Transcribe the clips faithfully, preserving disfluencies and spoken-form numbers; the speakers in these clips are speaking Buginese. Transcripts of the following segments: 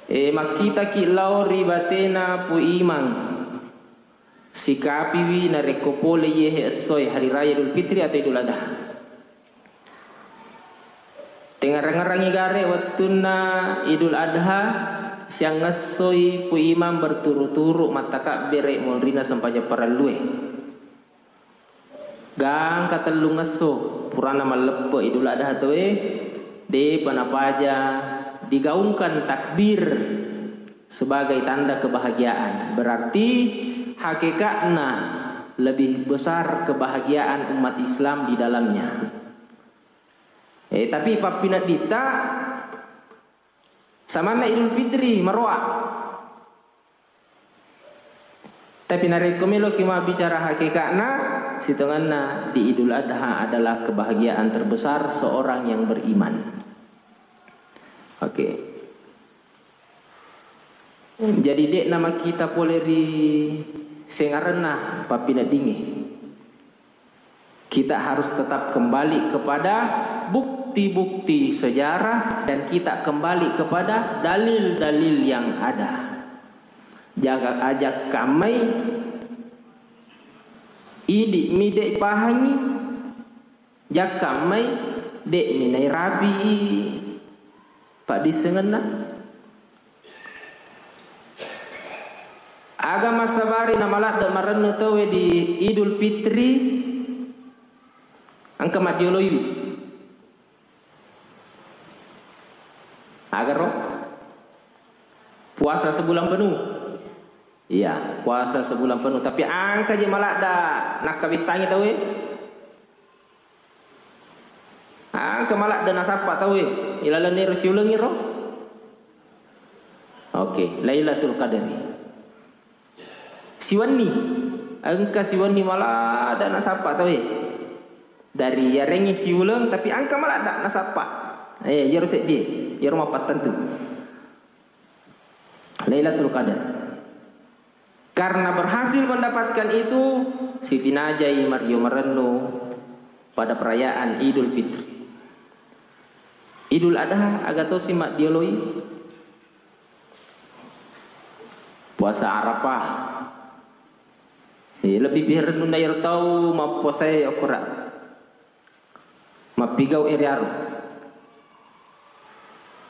E, makkitaki lao ri batena Pu Imang. Sikapiwi narekko pole iyehe essoe hari raya Idul Fitri atau Idul Adha. Tengngerang-ngerangi gare wettunna Idul Adha, siangngessoi Pu Imang berturu-turu mattakabbere monrina sempajang parellue. Gangka tellungesso purana malleppe Idul Adha tauwe, depa napaja digaungkan takbir sebagai tanda kebahagiaan. Berarti hakekatna lebih besar kebahagiaan umat Islam di dalamnya. Eh, tapi pappinedditta samanna Idul Fitri maroa. Tapi narekko meloki mabbicara hakekatna, sitongenna di Idul Adha adalah kebahagiaan terbesar seorang yang beriman. Oke. Jadi, de'na makkita pole ri sengarenna pappineddingnge. Kita harus tetap kembali kepada bukti-bukti sejarah dan kita kembali kepada dalil-dalil yang ada. Jaga, aja kammai idi mi de pahangi, jakka mai de mi nairapi paddissengenna. Aga massabari namaladde marennu tauwe di Idul Fitri, engka maddioloiwi. Agaro? Puasa sebulan penuh. Iya, puasa sebulan penuh. Tapi engka je maladda nakkabittangi tauwe. Engka maladde nasappa tauwe ilalenna ero siulengngi ro. Oke, Lailatul Qadari. Siwenni, engka siwenni maladde nasappa tauwe. Dari yarengngi siuleng, tapi engka maladde nasappa. Eh, iyaro seddi, iyaro mappattentu. Lailatul Qadar. Karena berhasil mendapatkan itu, sitinajai mario marennu pada perayaan Idul Fitri. Idul Adha aga tosi maddioloi? Puasa Arafah. Eh, lebih pihak rennunna iyaro tau mappuasae okora. Mappigau eri aro.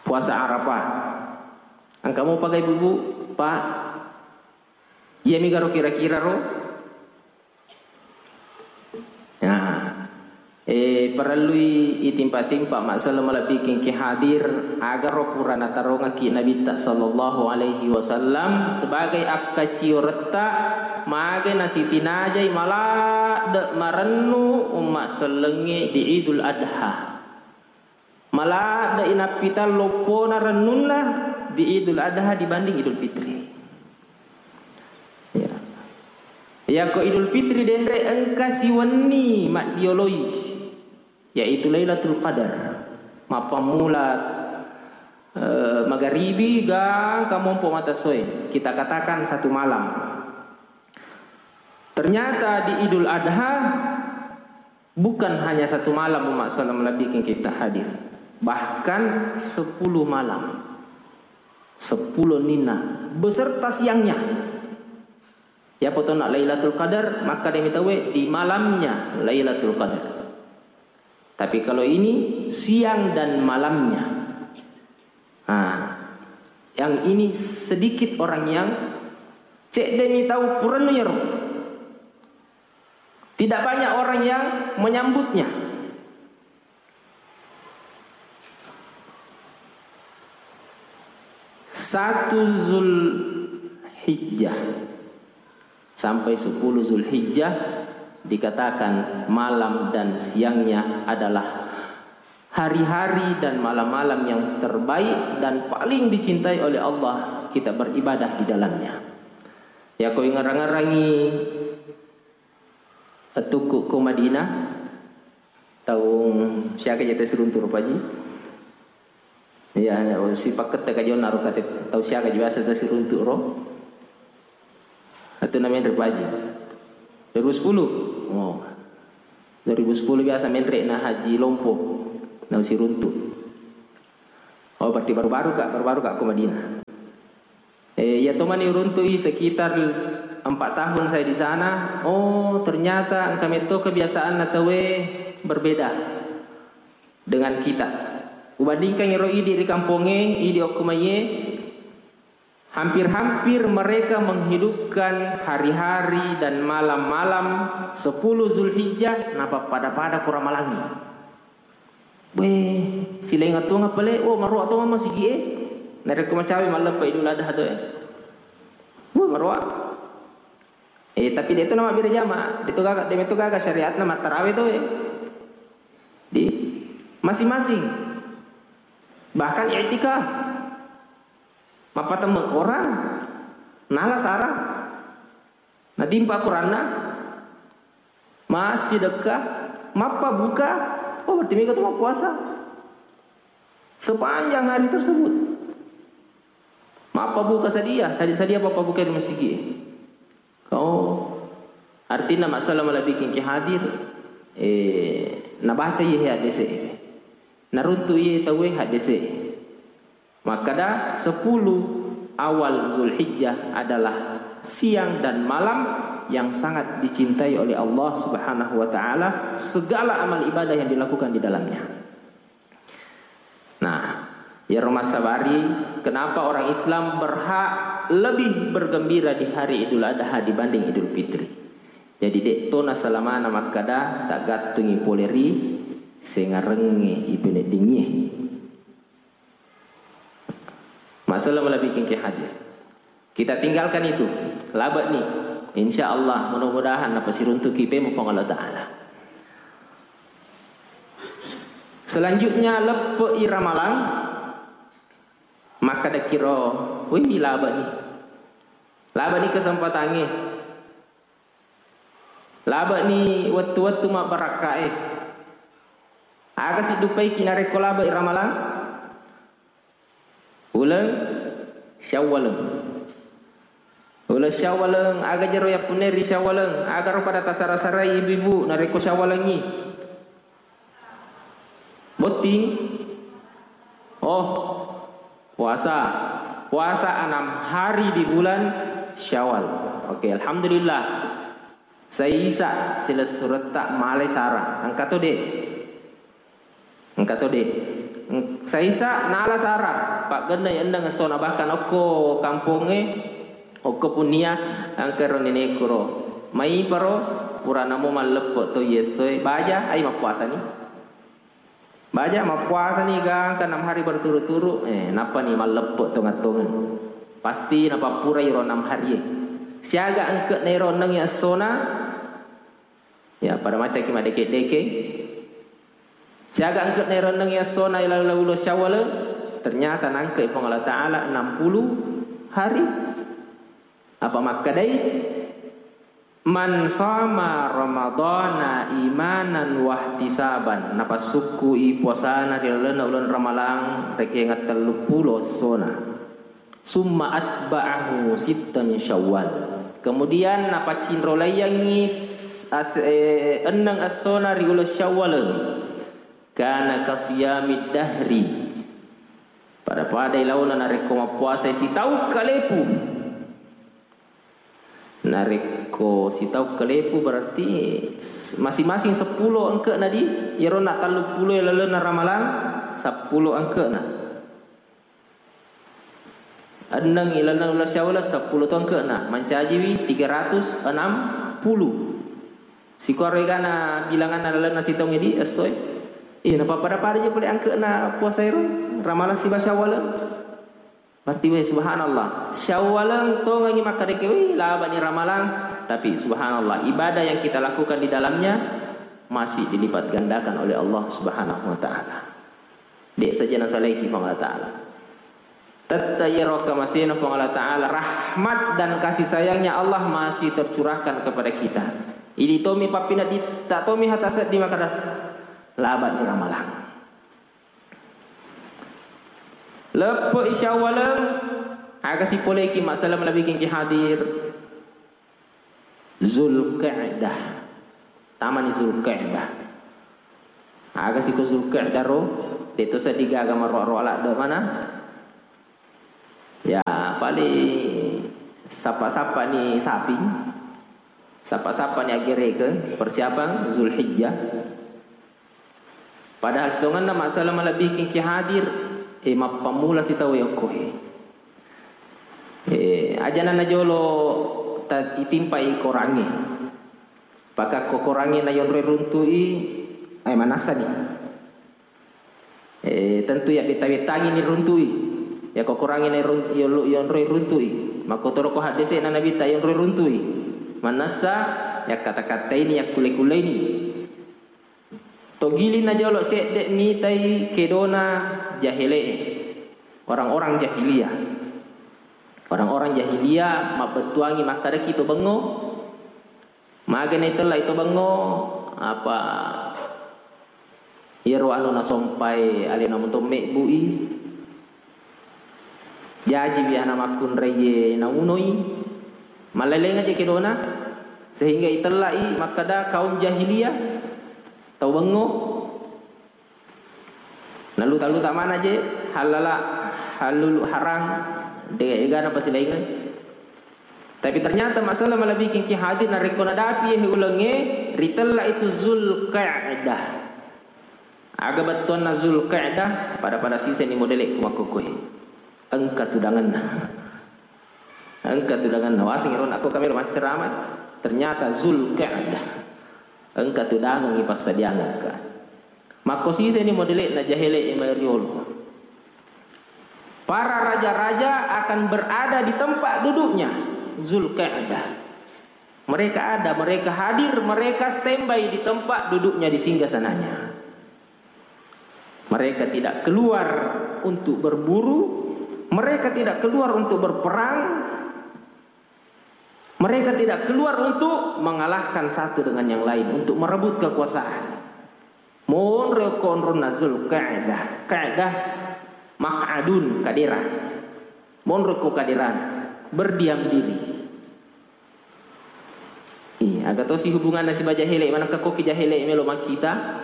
Puasa Arafah. Engka mopa ga ibu-ibu, Pak? Iya mi garo kira-kira ro? Nah, eh, parellui itimpa-timpa masalah malebbiking ki hadir, agaro pura natarongaki Nabitta sallallahu alaihi wasallam sebagai akkacioretta mage nasitinajai maladde marennu umma sellengnge di Idul Adha. Maladde'i nappitang loppona rennunna di Idul Adha dibanding Idul Fitri. Ya. Yako Idul Fitri denre engka siwenni maddioloi, yaitu Lailatul Qadar. Mappammula, eh, magaribi gangka mompo mata soe. Kita katakan satu malam. Ternyata di Idul Adha bukan hanya satu malam umat salam lebih kita hadir, bahkan sepuluh malam, sepuluh nina beserta siangnya. Ya, potona Lailatul Qadar, maka demi tahu di malamnya Lailatul Qadar. Tapi kalau ini siang dan malamnya. Nah, yang ini sedikit orang yang cek demi tahu purennu yero. Tidak banyak orang yang menyambutnya. Satu Zulhijjah sampai sepuluh Zulhijjah dikatakan malam dan siangnya adalah hari-hari dan malam-malam yang terbaik dan paling dicintai oleh Allah kita beribadah di dalamnya. Ya, ko ingarang-arangi Wettukku ko Madinah, taung siaga je tasiruntu ro, Paji? Iya, sipakkette ka jonna ro, kate tau siaga je biasa tasiruntu ro? Atu na menre, Paji? Dua ribu sepuluh? Oh. Dua ribu sepuluh biasa menre na Haji Lompo, na siruntu. Oh, berarti baru-baru ka, baru-baru ka ko Madinah. Tomani uruntu'i sekitar empat tahun saya di sana, oh, ternyata engka metto kebiasaanna tauwe berbeda dengan kita. Ubandingkan iro idi ri kampongnge, idi okko maiye, hampir-hampir mereka menghidupkan hari-hari dan malam-malam sepuluh Zulhijjah, napappada-pada ko ramalangngi. Weh, silaing atuang pale, oh, maroa tonga masigi'e. Narekko macawe malleppa Idul Adha to, eh. Weh, maroa. Eh, tapi de' to namabbere jama, de' to gaga, de' to gaga syariatna mattarawe to, eh. Di masing-masing. Bahkan i'tikaf. Mappatemme Quran. Nala sara. Natimpa Quranna. Massidekka, mappabuka, oh, berarti mega tu mappuasa. Sepanjang hari tersebut. Mappabuka sadia, sadia, sadia pappabuka di masigi. Oh, artinya masalah malabikeng ki hadir, eh, nabaca iye hadese. Naruntu iye tauwe hadese. Makkada, sepuluh awal Zulhijjah adalah siang dan malam yang sangat dicintai oleh Allah Subhanahu wa Ta'ala, segala amal ibadah yang dilakukan di dalamnya. Nah, iyaro massabari, kenapa orang Islam berhak lebih bergembira di hari Idul Adha dibanding Idul Fitri? Jadi, de' to nasalamana makkada taggattungi pole ri sengarengnge ipeneddingie. Masalah malabikeng ki hadir. Kita tinggalkan itu. Labe'ni. Insya Allah, mudah-mudahan napasiruntuki pemo Puang Allah Ta'ala. Selanjutnya, leppe'i ramalang. Makkadekkiro, wih, labe'ni. Labe'ni kesempatangnge. Labe'ni wettu-wettu mabbarakkae. Aga siddupaiki narekko labe'i ramalang? Uleng Syawaleng. Uleng Syawaleng, aga jero yappunne ri Syawaleng? Agaro pada tasara-sarai ibu-ibu narekko Syawalengngi? Botting? Oh, puasa. Puasa enam hari di bulan Syawal. Oke, alhamdulillah. Saisa silessuretta malai sara. Engka to de'? Engka to de'? Eng-, saisa nala sara. Paggennai enneng essona, bahkan okko kampongnge, okko punnia, engka ro nenekku ro. Maiparo, purana mo malleppe' to iye essoe, baja, ai mappuasani. Baja mappuasani gangka enam hari berturut-turut, eh, nappani malleppe' tongeng-tongeng. Pasti napappurai ro enam harie. Siaga engke'na ero enneng essona, ya, pada macaki madeke-deke. Siaga engke'na ero enneng essona ila uleng Syawal, ternyata nangke'i Puang Allah Ta'ala enam puluh hari. Apa makkedai, "Man shoma Ramadhana imanan wahtisaban," napassukku'i puasana ri lalenna uleng Ramalang rekeng telluppulo essona. "Summa atba'ahu sitta min Syawal." Kemudian napaccinrolaiyangngi s-, as-, eh, enneng essona ri uleng Syawal. "Kana kasiyamid dahri." Pada-padai laona narekko mappuasai sitaung kalepu. Narekko sitaung kalepu berarti s-, masing-masing seppulo engke'na di, iyaro na telluppulo lalenna Ramalang, seppulo engke'na. Enneng ilalenna uleng Syawal, seppulo to engke'na, mancajiwi tiga ratus enam puluh. Sikuaro egana bilanganna lalenna sitaung idi essoe. Iya, napapada-pada je pole engke'na puasa ero, Ramalang siba Syawal. Berarti, weh, subhanallah. Syawaleng tongengi makkedaki, weh, labani Ramalang. Tapi, subhanallah, ibadah yang kita lakukan di dalamnya masih dilipat gandakan oleh Allah Subhanahu wa Ta'ala. De' saja nasalaiki Puang Allah Ta'ala. Tette' iyaro kamasena Puang Allah Ta'ala, rahmat dan kasih sayangnya Allah masih tercurahkan kepada kita. Idi tomi pappineddi, tak tomi hata seddi makadas, labani Ramalang. Leppe'i Syawaleng, aga sipoleki masalah malabikengki hadir. Zulqa'dah. Tamani Zulqa'dah. Aga siko Zulqa'dah ro, de'to seddi gaga maroa-roa ladde mana. Ya, paling sappa-sappani saping, sappa-sappani aggerekeng, persiapan Zulhijjah. Padahal sitongenna masalah malebbikengki hadir, eh, mappammula sitau okkoe. Eh, ajana najolo ta-, itimpai korangnge. Pakakko korangnge nayonroi runtui, eh, manassani. Eh, tentu ya betta-bettangi ni runtui. Ya ko korangnge nairun-, yolo-, yonroi runtui. Makkotoro ko haddese na nabitta yonroi runtui. Manassa, yakkata-kataini, yakkulle-kulleini. Togiling najolo cedde mitai kedona jahele'e. Orang-orang jahiliyah. Orang-orang jahiliyah mabbettuangi makkadaki to bengngo. Magana itellai to bengngo, apa, iyaro anu nasompai alena muto mebbu'i. Jajiwi ana makkunraie naunoi. Malleleng aja kedona, sehingga itella'i makkada kaum jahiliyah, tau bengngo. Naluta-luta mana je, halala, halulu, harang, de egana pasilaingeng. Tapi ternyata masalah malebbiking ki hadir narekko nadapi he ulengnge, ritella itu Zulqa'dah. Aga bettuanna Zulqa'dah, pada-pada siseni modele ku makkukue. Engka tudangenna. Engka tudangenna. Waseng iro nakko kami ro macceramai. Ternyata Zulqa'dah. Engka tudangengi passadiangekka. Makko siseni modele'na jahele'e mai riolo. Para raja-raja akan berada di tempat duduknya Zulqa'dah. Mereka ada, mereka hadir, mereka standby di tempat duduknya, di singgasananya. Mereka tidak keluar untuk berburu, mereka tidak keluar untuk berperang, mereka tidak keluar untuk mengalahkan satu dengan yang lain, untuk merebut kekuasaan. Monro ko onronna Zulqa'dah, qa'dah, maq'adun, kadera. Monro ko kaderana, berdiam diri. Iya, aga tosi hubunganna sibawa jahele, manakka koki jahele melo makkita.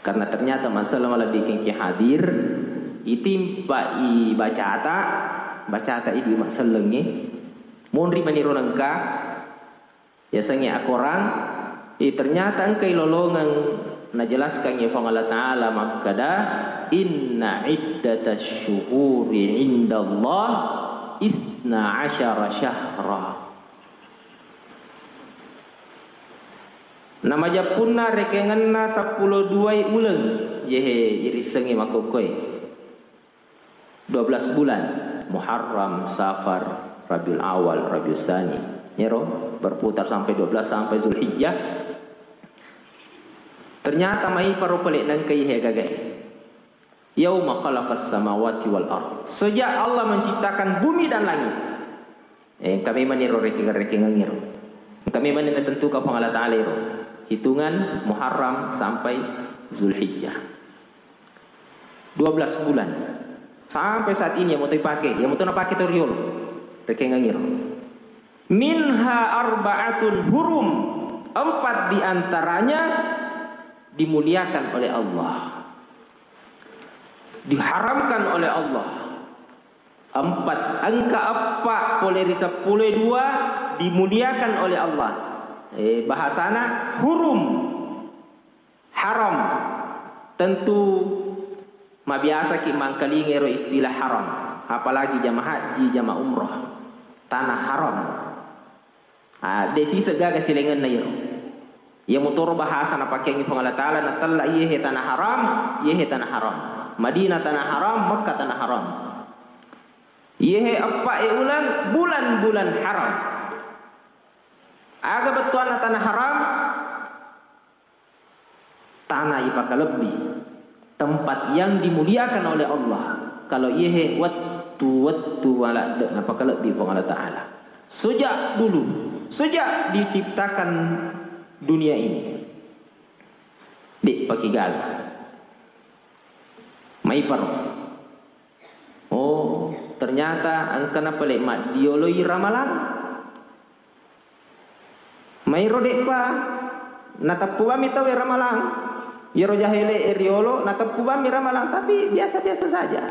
Karena ternyata masalah malebbiking ki hadir, itimpai bacata, bacata idi massellengnge, monri maniro nengka, yasengnge akorang, eh, ternyata engkai lolongeng najelaskangngi Puang Allah Ta'ala makkeda, "Inna iddatasy syuhuri indallah isna asyara syahra." Namajeppunna rekengenna seppulo duai uleng, yehe irissengngi makkokkoe. Dua belas bulan, Muharram, Safar, Rabiul Awal, Rabiul Tsani. Yero berputar sampai dua belas sampai Zulhijjah. Ternyata maiparo pale nengka ihe gagae. Yauma khalaqas samawati wal ard. Sejak Allah menciptakan bumi dan langit. Eh, engka memang iro rekeng-rekengeng iro. Engka memang natentukan Puang Allah Ta'ala iro. Hitungan Muharram sampai Zulhijjah. Dua belas bulan. Sampai saat ini, iya moto ipake, iya moto napake tau riolo. Rekengeng iro. Minha arba'atun hurum. Empat di antaranya dimuliakan oleh Allah. Diharamkan oleh Allah. Empat, engka eppa pole ri seppulo dua dimuliakan oleh Allah. Eh, bahasana hurum, haram. Tentu mabiasaki mangkalinga ero istilah haram, apalagi jama haji, jama umroh, tanah haram. Ah, de siseng gaga silaingenna iyaro. Iya motoro bahasa napakeangngi Puang Allah Ta'ala, natella iyehe tanah haram, iyehe tanah haram. Madinah tanah haram, Mekah tanah haram. Iyehe eppa e uleng, bulan-bulan haram. Aga bettuanna tanah haram? Tanah ipakalebbi, tempat yang dimuliakan oleh Allah. Kalau iyehe wettu-wettu maladde napakalebbi Puang Allah Ta'ala. Sejak dulu, sejak diciptakan dunia ini, de pakigaga. Maiparo. Oh, ternyata engkana pale maddioloi Ramalang. Mairo de'pa nateppu bammi tauwe Ramalang. Iyaro jahele e riolo nateppu bammi Ramalang, tapi biasa-biasa saja.